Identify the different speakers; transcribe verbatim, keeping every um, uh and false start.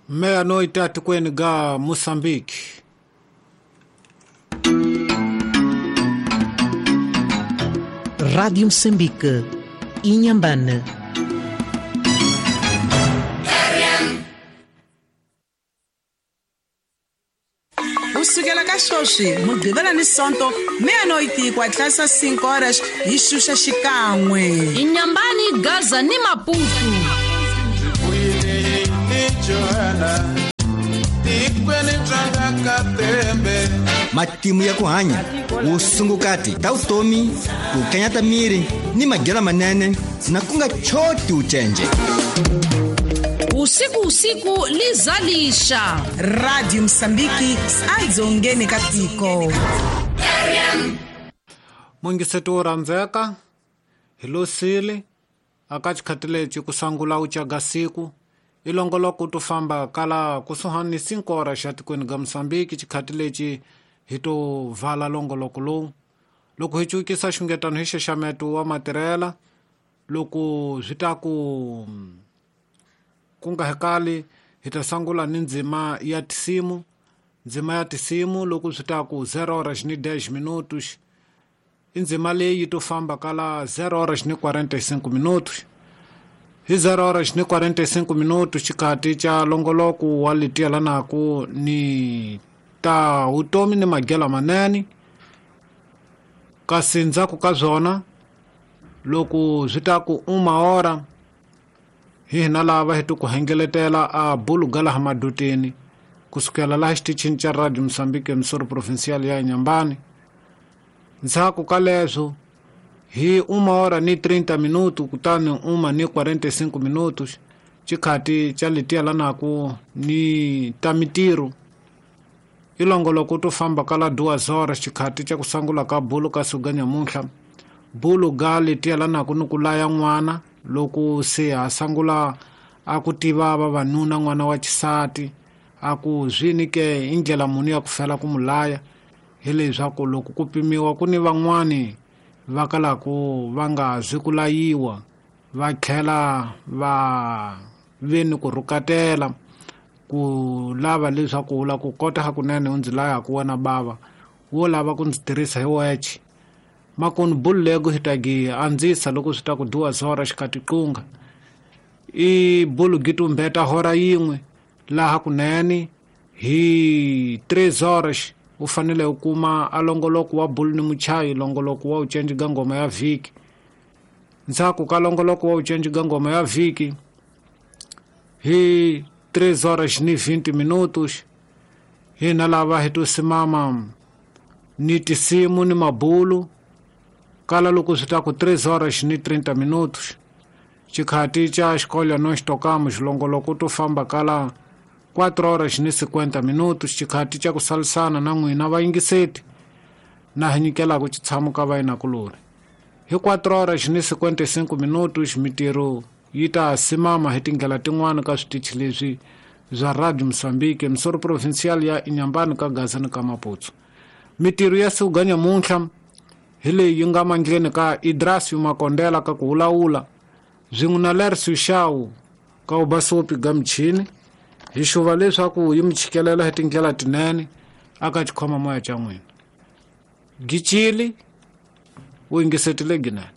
Speaker 1: Meia-noite atikweni ga Moçambique.
Speaker 2: Rádio Moçambique, Inhambane.
Speaker 3: Kusukela ka sweswi Mugqivela ni Sonto meia-noite ku hatlisa cinco horas hi xuxa xikan'we.
Speaker 4: Inhambane, Gaza ni Maputo.
Speaker 5: Matimu ya ku hanya vusungukati ta vutomi ku kanyata miri ni madyelo manene na ku nga choti ucenje.
Speaker 4: Usiku usiku lizalisha.
Speaker 3: Radio Msambiki adzongeni katiko.
Speaker 1: Mungiseto wo rhandzeka hi losile aka xikhati lexi ku sangula u caga siku ilongoloko to famba kala kusuhani ni cinco horas xa tikweni ga Mosambiki xikhati lexi hi to vala longoloko lowu loko hi cukisa xungetano hi xaxameto wa matirhela loko swi ta ku ku nga hekali hi ta sangula ni ndzima ya tisimu ndzima ya tisimu loko swi ta ku zero horas ni dez minutos i ndzima leyi to famba kala zero horas ni quarenta e cinco minutos hi zero horas ni quarenta e cinco minutos xikhati xa longoloko wa letielanaku ni ta vutomi ni madyelo manene kasi ndzhaku ka byona loko swi ta ku uma hora hi hina lava hi ku hengeletela a bulu ga laha maduteni kusukela laha xitichini xa Radio Mosambiki emisoro provincial ya Inhambane. Ndzhaku ka leswo hi uma hora ni trinta minutos kutani uma ni quarenta e cinco minutos xikhati xa letielanaku ni ta mitirho ilongoloko to famba kala duas horas xikhati xa ku sangula ka bulu ka suga nyamuntlha bulu ga letielanaku ni ku laya n'wana loko se a sangula a ku tiva vavanuna n'wana wa xisati a ku zwini ke i ndlela muni ya ku fela ku mulaya hi leswaku loko ku pimiwa ku ni van'wani va kalaku va nga zi ku layiwa va tlhela va ve ni ku rhukatela ku lava leswaku u la ku kota hakunene u ndzi laya ku wena bava wo lava ku ndzi tirhisa hi weche makoni bulu lego hi ta gi andzisa loko swi ta ku duas horas xikhati qunga i bulu gi tumbeta hora yin'we laha kunene hi três horas u fanele u kuma a longoloko wa bulu ni muchayi longoloko wa ucenji ga ngoma ya vhiki ndzhaku ka longoloko wa ucenji ga ngoma ya vhiki hi três horas ni vinte minutos hina lava hi to simama ni tisimu ni mabulu kala loko swi ta ku três horas ni trinta minutos xikhati xa xikolo no xitokamo xilongoloko to famba kala quatro horas ni cinquenta minutos xikhati xa ku salisana na n'wina vayingiseti na hi nyikelaku xitshamo ka vayinakulori hi quatro horas ni cinquenta e cinco minutos mitirho yi ta simama hi tindlela tin'wana ka switichi leswi bya Radio Mosambiki emisoro provincial ya Inhambane ka Gaza ni ka Maputo. Mitirho ya siku ga nyamuntlha hi leyi yi nga mandleni ka Idrasio Makondela ka ku wulawula swin'we na Lercio Xau ka ubasopi ga michini hi xuva leswaku yi mi chikelela hi tindlela tinene aka xikhoma moya xa n'wina. Gicili u yingisetile ginene.